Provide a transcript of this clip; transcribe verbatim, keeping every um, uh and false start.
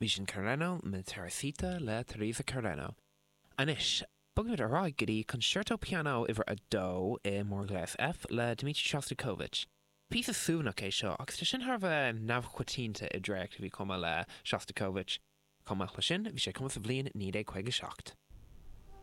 Bhí sin Carreno Mi Teresita le Teresa Carreno. Anois, Bogfaimid ar aghaidh go dtí Concerto Piano uimhir a dó i mórghléas F le Dmitri Shostakovich. Píosa suaimhneach é seo agus tá sin thar a bheith neamhchoitianta i dréacht a bhí cumtha le Shostakovich. Chomh maith leis sin, bhí sé cumtha sa bhliain naoi déag caoga seacht.